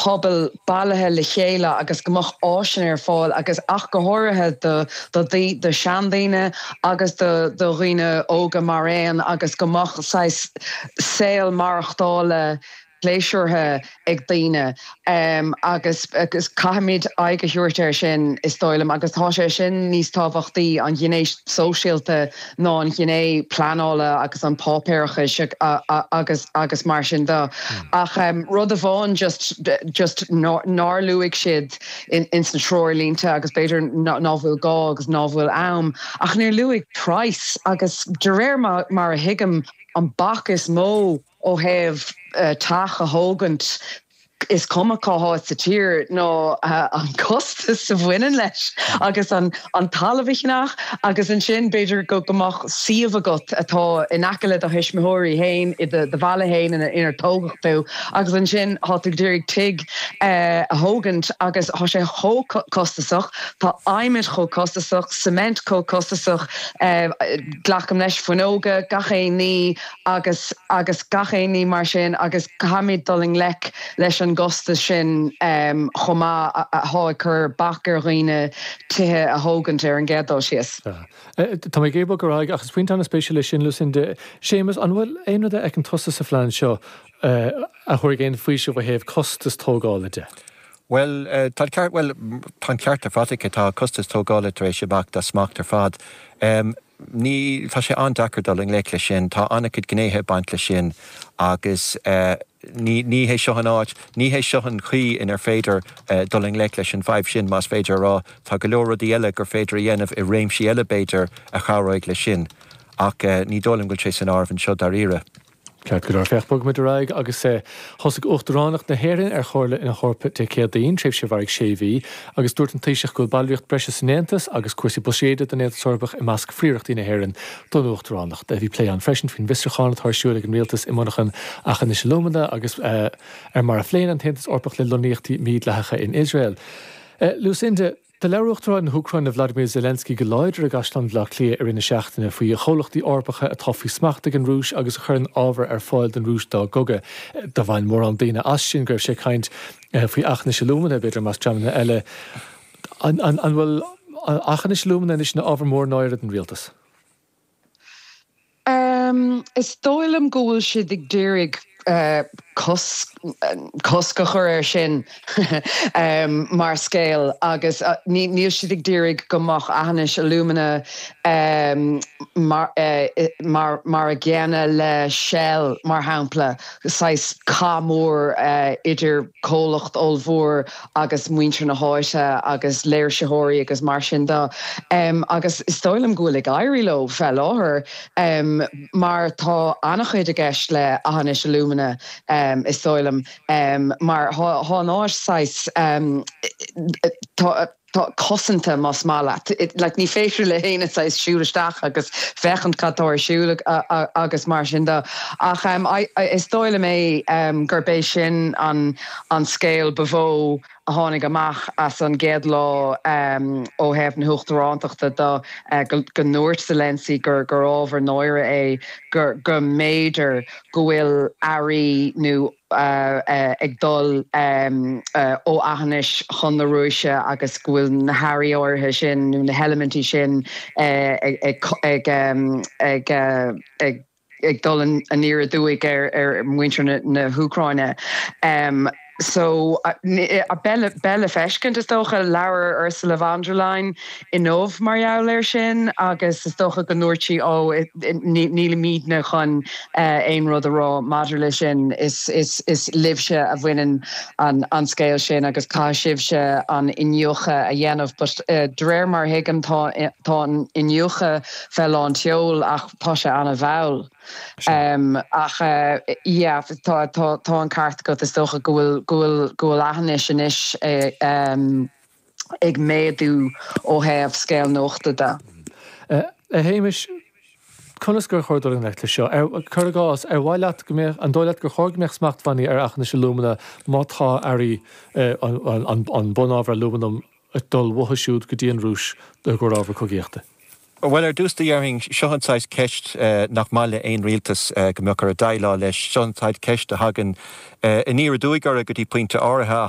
pobal bailithe le chéile agus go mbeadh áiseanna ar fáil agus ach go háirithe do do do seandaoine agus do do dhaoine óga mar aon agus go mbeadh saghas saol maireachtála pléisiúrtha ag daoine agus agus caithfimid aghaidh a thabhairt air sin is dóigh liom agus tá sé sin níos tábhachtaí, an ghné sóisialta ná an ghné pleanála agus an páipéarachais agus agus mar sin de. Ach rud amháin just just nár luaigh siad ins na treoirlínte agus b'fhéidir ná bhfuil gá agus ná bhfuil am ach níor luaigh praghas agus de réir mar a thuigim an bac is mó ó thaobh teach a thógaint, is cuma cá háit sa tír, ná an costas a bhaineann leis agus an talamh a cheannach agus ansin b'fhéidir go mbeadh suíomh agat atá in aice le do thuismitheoirí féin i do bhaile féin inar tógadh tú agus ansin tá tú ag iarraidh tigh a thógaint agus tá sé chomh costasach, tá adhmad chomh costasach, cement chomh costasach, glacaim leis, fuinneoga, gach aon ní. agus agus gach aon ní mar sin agus caithfimid dul i ngleic leis an gcostas sin chomh maith atá ag cur bac ar dhaoine tithe a thógaint ar an gcéad dul síos. Tá mé ag iarraidh bogadh ar aghaidh ach is pointe an-spéisiúil é sin, Lucinda. Séamus, an bhfuil aon rud a fheiceann tusa sa phlean seo a thabharfaidh aon faoiseamh ó thaobh costas tógála de? Bhuel, tá an ceart, bhuel, tá an ceart ar fad aici, tá costas tógála tar éis imeacht as smacht ar fad. Ní, tá sé an-deacair dul i ngleic leis sin, tá an-chuid gnéithe ag baint leis sin agus ní, ní hé seo an áit, ní hé seo an chaoi inar féidir dul i ngleic leis an bhfadhb sin, más féidir a rá. Tá go leor rudaí eile gur féidir a dhéanamh i réimsí eile b'fhéidir a chabhróidh leis sin ach ní dóigh liom go bhfuil sé san áireamh anseo dáiríre. Ceart go leor, féach, bogfaimid ar aghaidh agus thosaigh Uachtaránacht na hÉireann ar Chomhairle na hEorpa Dé Céadaoin, tréimhse a mhairfidh sé mhí, agus dúirt an Taoiseach go bhfuil ballraíocht breise san Aontas agus cúrsaí buiséid don Aontas Eorpach i measc phríorachtaí na hÉireann don Uachtaránacht. Bhí plé ann freisin faoin bhfiosrúchán atá ar siúl ag an Rialtas i monarchan Aughinish Alumina agus ar mar a phléann an tAontas Eorpach le lonnaíochtaí mídhleathacha in Iosrael. Lucinda. Do labhair Uachtarán na hÚcráine Vladimir Zelensky go láidir i gCaisleán Bhaile Átha Cliath i rith na seachtaine faoi chomhlachtaí Eorpacha atá faoi smacht ag an Rúis agus a chuireann ábhar ar fáil don Rúis dá gcogadh. Do bhain mórán daoine as sin go raibh sé ag caint faoi Aughinish Alumina, b'fhéidir, i measc dreamanna eile. An bhfuil Aughinish Alumina anois ina ábhar mór náire don rialtas? Is dóigh liom go bhfuil siad ag d'iarraidh cosc a chur air sin mar scéal agus níl siad ag d'iarraidh go mbeadh Aughinish Alumina mar mar a gcéanna le Shell mar shampla, saghas cath mór idir comhlacht ollmhór agus muintir na háite agus léirsitheoirí agus mar sin de. Agus is dóigh liom go bhfuil ag éirí leo fé láthair mar tá an-chuid i gceist le Aughinish Alumina is dóigh liom mar tá an áit saghas tá tá cosanta más maith leat. Like ní féidir le héinne saghas siúl isteach agus féachaint cad tá ar siúl agus mar sin de. Ach is dóigh liom é gurb é sin an an scéal ba mhó a tháinig amach as an gcéad lá ó thaobh na huachtarántachta de, go ndúirt Zelensky gur gur ábhar náire é gur go mb'fhéidir go bhfuil earraí nó ag dul ó Aughinish chun na Rúise agus go bhfuil na hearraí áirithe sin nó na heilimintí sin ag dul aniar aduaidh ar mhuintir na hÚcráine. So, beidh le feiscint, is dócha. Labhair Ursula von der Leyen inniu mar gheall air sin agus is dócha go ndúirt sí, ó, nílimidne chun aon rud a rá maidir le sin, is libhse a bhaineann an scéal sin agus caithfidh sibhse an iniúchadh a dhéanamh. But de réir mar a thuigim tá an iniúchadh fé lán tseoil ach tá sé an-mhall. Ach yeah, tá tá an ceart agat, is dócha go bhfuil go bhfuil go bhfuil Aughinish anois ag méadú ó thaobh scéal nuachta de. A Shéamais, conas gur chóir dul i ngleic leis seo? Cuir i gcás, ar mhaith leat go mbeadh, an dóigh leat gur chóir go mbeadh smachtbhannaí ar Aughinish Alumina má tá earraí, an bunábhar alúmanam ag dul uathu siúd go dtí an Rúis i gcomhair ábhar cogaíochta? Bhuel, ar dtús déarfainn, seo an saghas ceist nach maith le aon rialtas go mbeadh orthu déileáil leis. Seo an saghas ceist a thagann aniar aduaidh orthu go dtí pointe áirithe.